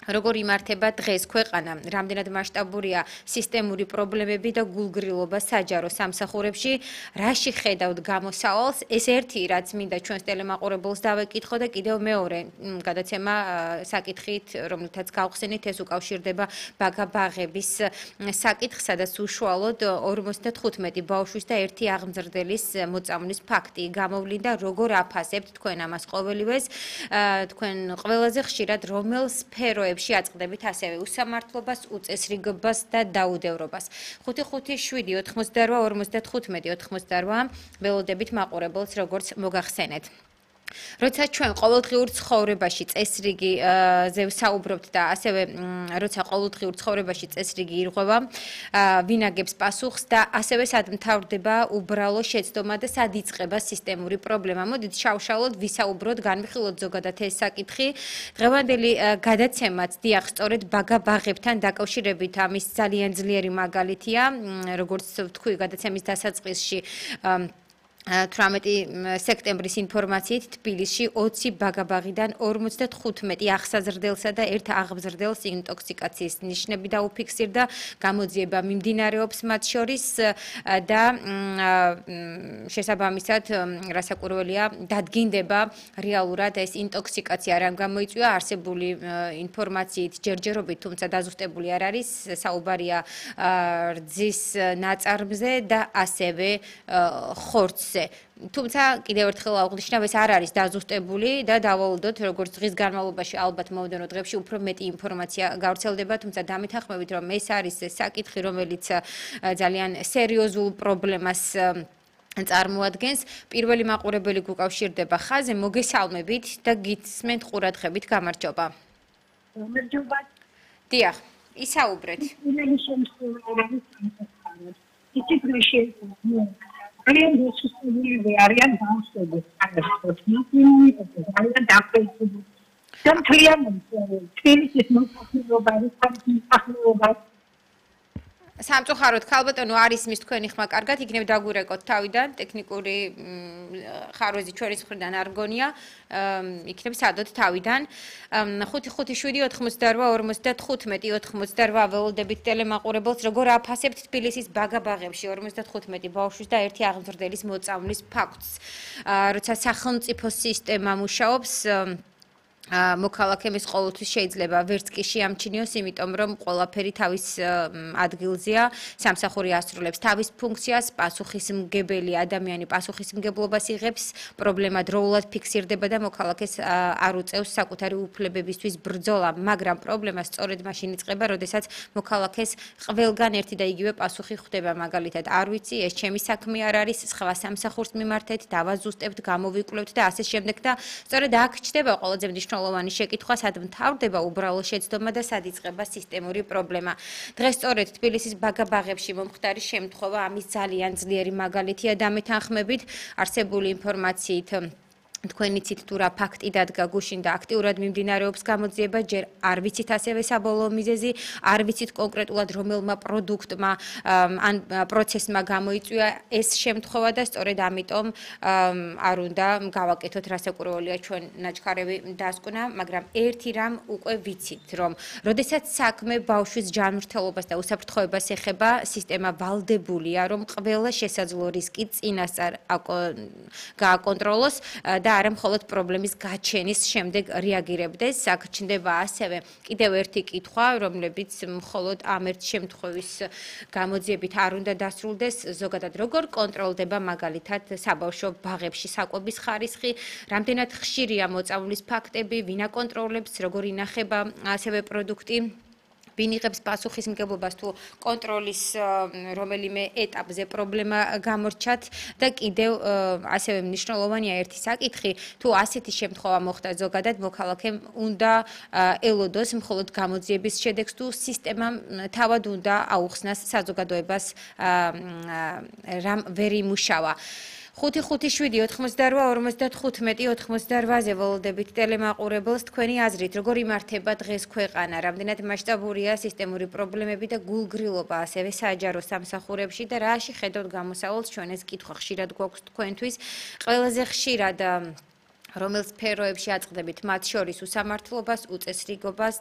როგორ იმართება დღეს ქვეყანა, რამდენად მასშტაბურია სისტემური პრობლემები და გულგრილობა საჯარო სამსახურებში, რაში ხედავთ გამოსავალს, ეს ერთი რაც მინდა ჩვენს ტელემაყურებელს დავეკითხო და კიდევ მეორე გადაცემა საკითხით, რომელთაც გავხსენით, ეს უკავშირდება ბაგა-ბაღების საკითხს, სადაც უშუალოდ 55 ბავშვის და ერთი აღმზრდელის მოწამვლის ფაქტი გამოვლინდა, როგორ აფასებთ თქვენ ამას ყოველივეს, თქვენ ყველაზე ხშირად რომელ სფეროებში აწყდებით ასევე უსამართლობას, უწესრიგობას და დაუდევრობას. 557 88 55 88 ველოდებით მაყურებელს როგორც მოგახსენეთ. როცა ჩვენ ყოველდღიურ ცხოვრებაში წესრიგიზე ვსაუბრობთ და ასევე როცა ყოველდღიურ ცხოვრებაში წესრიგი ირღვევა, ვინ აგებს პასუხს და ასევე სად მთავრდება უბრალო შეცდომა და სად იწყება სისტემური პრობლემა. მოდით შავშალოდ ვისაუბროთ, განვიხილოთ ზოგადად ეს საკითხი. დღევანდელი გადაცემაც დიახ, სწორედ ბაგა-ბაღებთან დაკავშირებით ამის ძალიან ძლიერი მაგალითია, როგორც ვთქვი, გადაცემის დასაწყისში 18 სექტემბრის ინფორმაციით თბილისში 20 ბაგა-ბაღიდან 55 აღსაზრდელსა და ერთ აღმზრდელს ინტოქსიკაციის ნიშნები დაუფიქსირდა, გამოძიება მიმდინარეობს მათ შორის და შესაბამისად, რასაკვირველია, დადგინდება რეალურად ეს ინტოქსიკაცია რამ გამოიწვია, არსებული ინფორმაციით ჯერჯერობით, თუმცა დაზუსტებული არ არის, საუბარია რძის ნაწარმზე და ასევე ხორცზე. თუმცა კიდევ ერთხელ აღვნიშნავ, ეს არ არის დაზუსტებული და დავალოდოთ, როგორც დღის განმავლობაში ალბათ მომდევნო დღეებში უფრო მეტი ინფორმაცია გავრცელდება, თუმცა დამეთანხმებით, რომ ეს არის საკითხი, რომელიც ძალიან სერიოზულ პრობლემას წარმოადგენს. პირველი მაყურებელი გუკავშირდება ხაზზე, მოგესალმებით და გისმენთ ყურადღებით, გამარჯობა. გამარჯობა. დიახ, ისაუბრეთ. Arian Arian downstairs. Arian downstairs. Some clear is not talking about it. სამწუხაროდ ქალბატონო არ ისმის თქვენი ხმა კარგად, იქნებ დაგვირეკოთ თავიდან, ტექნიკური ხარვეზი ჩვენის მხრიდან არ გონია, იქნებ სადოთ თავიდან. 557 88 88 ველოდებით ტელემაყურებელს, როგორ აფასებთ თბილისის ბაგა-ბაღებში 55 ბავშვის და ერთი აღმზრდელის მოწამვლის ფაქტს. როცა სახელმწიფო სისტემა მუშაობს, მოქალაქემის ყოველთვის შეიძლება ვერც კი შეამჩნიოს, იმიტომ რომ ყველაფერი თავის ადგილზეა, სამსახური ასრულებს თავის ფუნქციას, პასუხისმგებელი ადამიანი პასუხისმგებლობას იღებს, პრობლემა დროულად ფიქსირდება და მოქალაქეს არ უწევს საკუთარი უფლებებისთვის ბრძოლა, მაგრამ პრობლემა სწორედ მაშინ იწყება, როდესაც მოქალაქეს ყველგან ერთი და იგივე პასუხი ხვდება, მაგალითად, არ ვიცი, ეს ჩემი საქმე არ არის, სხვა სამსახურს მიმართეთ, დავაზუსტებთ, გამოვიკვლევთ და ასე შემდეგ და სწორედ აქ ჩდება ყველაზე მნიშვნელოვანი შეკითხვა, სად მთავრდება უბრალო შეცდომა და სად იწყება სისტემური პრობლემა. დღეს სწორედ თბილისის ბაგა-ბაღებში მომხდარი შემთხვევა ამის ძალიან ძლიერი მაგალითია დამეთანხმებით, არსებული ინფორმაციით თქვენი ცით თუ რა ფაქტი დადგა გუშინ და აქტიურად მიმდინარეობს გამოძიება, ჯერ არ ვიცით ასევე საბოლოო მიზეზი, არ ვიცით კონკრეტულად რომელმა პროდუქტმა ან პროცესმა გამოიწვია ეს შემთხვევა და სწორედ ამიტომ არ უნდა გავაკეთოთ, რასაკვირველია ჩვენ ნაჩქარევი დასკვნა, მაგრამ ერთი რამ უკვე ვიცით, რომ როდესაც საქმე ბავშვის ჯანმრთელობას და უსაფრთხოებას ეხება, სისტემა ვალდებულია, რომ ყველა შესაძლო რისკი წინასწარ გააკონტროლოს და არა მხოლოდ პრობლემის გაჩენის შემდეგ რეაგირებდეს. აქ ჩნდება ასევე კიდევ ერთი კითხვა, რომლებიც მხოლოდ ამ ერთ შემთხვევის გამოძიებით არ უნდა დასრულდეს, ზოგადად როგორ კონტროლდება მაგალითად საბავშვო ბაღებში საკვების ხარისხი, რამდენად ხშირია მოწამვლის ფაქტები, ვინ აკონტროლებს, როგორ ინახება ასევე პროდუქტი. ვინ იღებს პასუხისმგებლობას თუ კონტროლის რომელიმე ეტაპზე პრობლემა გამორჩათ და კიდევ ასევე მნიშვნელოვანია ერთი საკითხი, თუ ასეთი შემთხვევა მოხდა ზოგადად მოქალაქემ უნდა ელოდოს მხოლოდ გამოძიების შედეგს თუ სისტემამ თავად უნდა აუხსნას საზოგადოებას რამ ვერ იმუშავა. 557 88 88-ზე ველოდებით ტელემაყურებელს თქვენი აზრით, როგორ იმართება დღეს ქვეყანა, რამდენად მასშტაბურია სისტემური პრობლემები და გულგრილობა ასევე საჯარო სამსახურებში და რაში ხედავთ გამოსავალს, ჩვენ ეს კითხვა ხშირად გვაქვს თქვენთვის, ყველაზე ხშირად რომელ სფეროებში აწყდებით მათ შორის უსამართლობას, უწესრიგობას